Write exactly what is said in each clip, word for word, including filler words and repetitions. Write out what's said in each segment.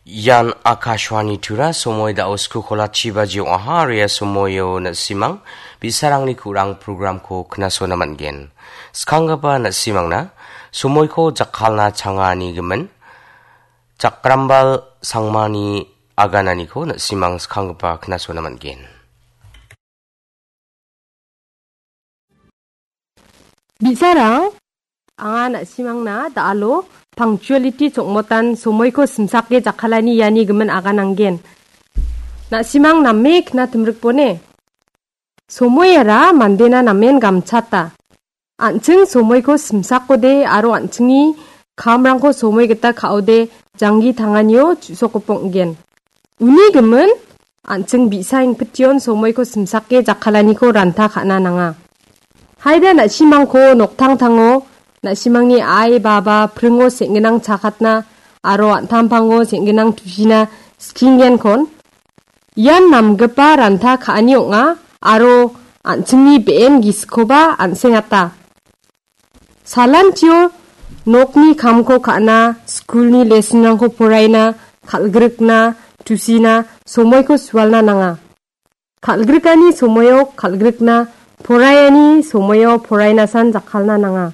Ian Akashvani Tura. Somoi da·o sku kolachi baji ong·aha, aro ia somoio na·simang bi·sarangni ku·rang programko knasona man·gen. Skanggipa na·simangna somoiko jakkalna changani gimin, jakrambal sangmani agananiko na·simang skanggipa knasona man·gen. Bi·sarang, anga na·simangna da·alo punctuality chongmotan somoiko simsake jakkalani iani gimin agananggen. Na·simang name kna timrikbone? Somoiara mandena namen gamchata. An·ching somoiko simsakode aro an·chingni kamrangko somoi gita ka·ode janggi tanganio chu·sokgipa ong·gen. Uni gimin, an·ching bi·sa ingpittion somoiko simsake jakkalaniko ranta ka·na nanga. Haida na·simangko noktangtango, na·simangni ai, baba, pringo seng·ginang chakatna aro an·tangpango seng·ginang tusina skinggenkon, ian namgipa ranta ka·ani ong·a aro an·chingni be·en gisikoba an·sengata. Salantio nokni kamko ka·na, skulni lesonrangko poraina, kal·grikna, tusina, somoiko sualna nanga. Kal·grikani somoio kal·grikna, poraiani somoio porainasan jakkalna nanga.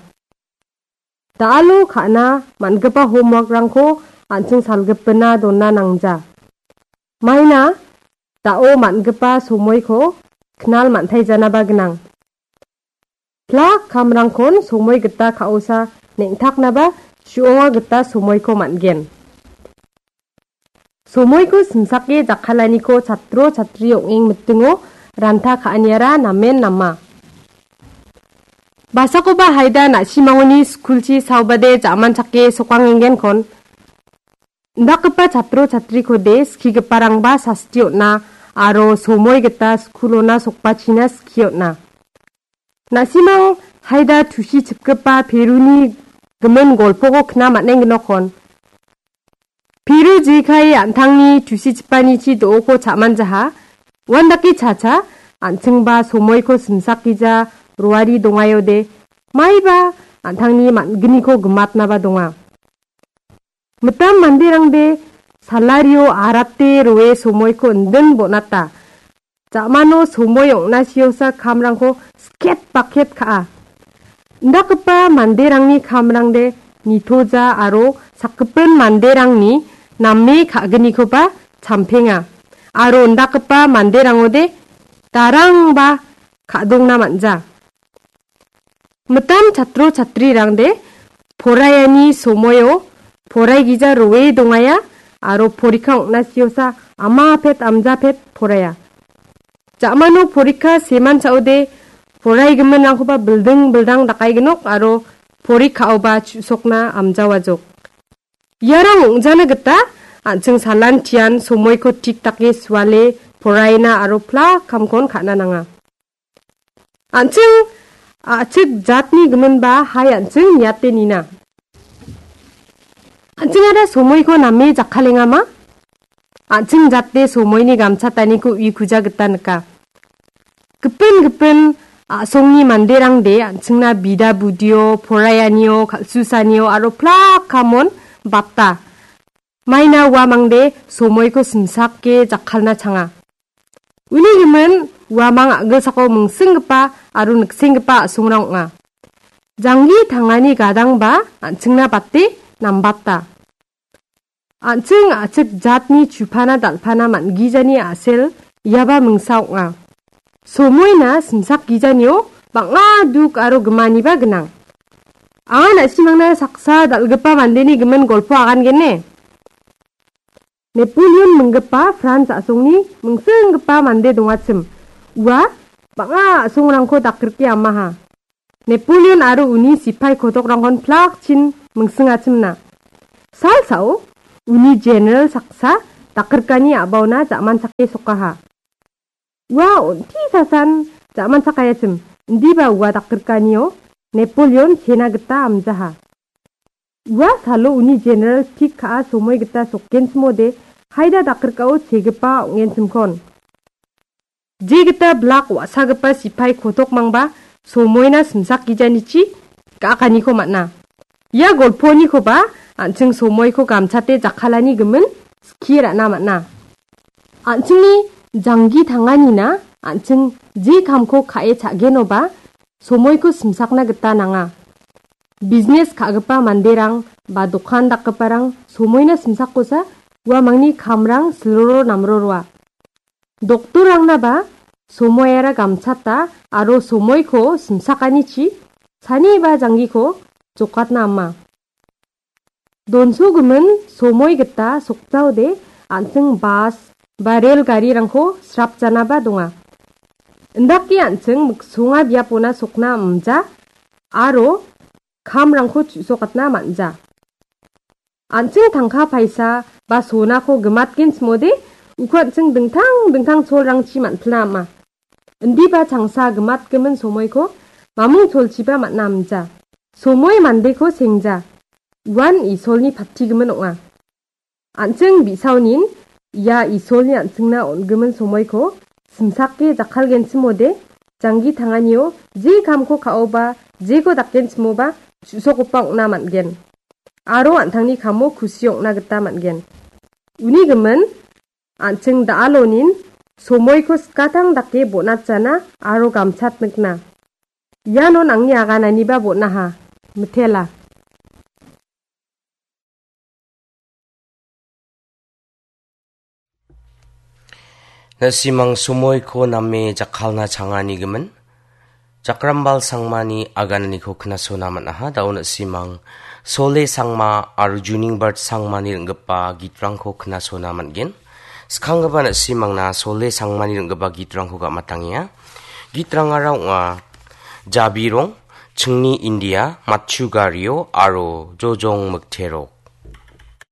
Da·alo ka·na man·gipa homeworkrangko an·ching salgipina dona nangja. Maina da·o man·gipa somoiko knal man·taijanaba gnang. Plak kamrangkon somoi gita ka·osa neng·taknaba su·onga gita somoiko man·gen. Somoiko simsake jakkalaniko chatro chatri ong·eng mitingo ranta ka·aniara namen nama. Basakoba haida na·simangoni skulchi saobade ja·manchake sokangenggenkon. Indakgipa chatro chatrikode skigiparangba sasti on·a aro somoi gita skulona sokbachina skie on·a. Na·simang haida tusichipgipa Peruni gimin golpoko kna man·engginokkon. Peru jekai an·tangni tusichipanichi do·oko cha·manjaha. Uandake chacha an·chingba somoiko simsakgija roari dongaiode maiba an·tangni man·gniko gimatnaba donga. Mitam manderangde salario arate roe somoiko indin bon·ata. Ja·mano somoi ong·na siosa kamrangko sket baket ka·a. Indakgipa manderangni kamrangde nitoja aro sakgipin manderangni name ka·gnikoba champenga. Aro indakgipa manderangode darangba ka·dongna man·ja. Mitam chatro chatrirangde poraiani somoio poraigija roe dongaia aro porikka ong·na siosa ama pet amja pet poraia. Ja·mano porikka seman cha·ode poraigiminrangkoba bilding bildang dakaignok aro porikkaoba chu·sokna amjawajok. Iarang ong·jana gita an·ching salantian somoiko tik dake suale poraina aro plak kamkon ka·na nanga. An·ching a·chik jatni giminba hai an·ching niate nina. An·chingara somoiko name jakkalengama? An·ching jate somoini gamchataniko uikuja gita nika. Gipin gipin a·songni manderangde an·chingna bida budio, poraianio, kal·susanio aro plak kamon bata. Maina uamangde somoiko simsake jakkalna changa. Uni gimin uamang a·gilsako mingsinggipa aro niksenggipa a·songrang ong·a. Janggi tangani gadangba an·chingna bate nambata. An·ching a·chik jatni chupana dal·pana man·gijani a·sel iaba mingsa ong·a. Somoina simsak gijanio bang·a duk aro gimaniba gnang. Anga na·simangna saksa dal·gipa mandeni gimin golpo agangene. Napoleon minggipa Frans a·songni mingsinggipa mande dongachim. Ua bang·a a·songrangko dakrike amaha. Napoleon aro uni sipai kotokrangkon plakchin mingsingachimna. Salsao uni jeneral saksa dakrikani a·baona ja·manchake sokaha. Ua on·ti sasan ja·manchakaiachim, indiba ua dakrikkanio Napoleon chena gita amjaha. Ua salo uni jeneral pik ka·a somoi gita sokgenchimode haida dakrikao chegipa ong·genchimkon. Je gita blak wa·sagipa sipai kotokmangba somoina simsak gijanichi ga·akaniko man·a. Ia golponikoba an·ching somoiko gamchate jakkalani gimin skie ra·na man·a. An·chingni janggi tanganina an·ching je kamko ka·e cha·genoba somoiko simsakna gita nanga. Bisnes ka·gipa manderang ba dokan dakgiparang somoina simsakosa uamangni kamrang silroro namroroa. Doktorrangnaba somoiara gamchata aro somoiko simsakanichi sani ba janggiko jokatna ama. Donsogimin somoi gita sokjaode an·ching bas ba rel garirangko srapjanaba donga. Indake an·ching miksonga biapona sokna amja aro kamrangko chu·sokatna man·ja. An·ching tangka paisa ba sonako gimatgenchimode uko an·ching dingtang dingtang cholrangchi man·pilna ama. Indiba changsa gimatgimin somoiko mamung cholchiba man·a amja. Somoi mandeko sengja. Uan Isolni patigimin ong·a. An·ching bi·saonin ia Isolni an·chingna on·gimin somoiko simsake jakkalgenchimode janggi tanganio je kamko ka·oba jeko dakgenchimoba chu·sokgipa ong·na man·gen. Aro an·tangni kamo kusi ong·na gita man·gen. Uni gimin an·ching da·alonin somoiko skatang dake bonatjana aro gamchatnikna. Ianon angni agananiba bon·aha. Mitela. Na·simang somoiko name jakkalna changani gimin. Jakrambal Sangmani agananiko knasona man·aha. Da·o na·simang Sole Sangma aro Juningbert Sangmani ring·gipa gitrangko knasona man·gen. Skanggipa na·simangna Sole Sangmani ring·gipa gitrangko gam·atangenga. Gitrangara ong·a Jabirong, Chingni India, Matchu Gario aro Jojong Mikterok.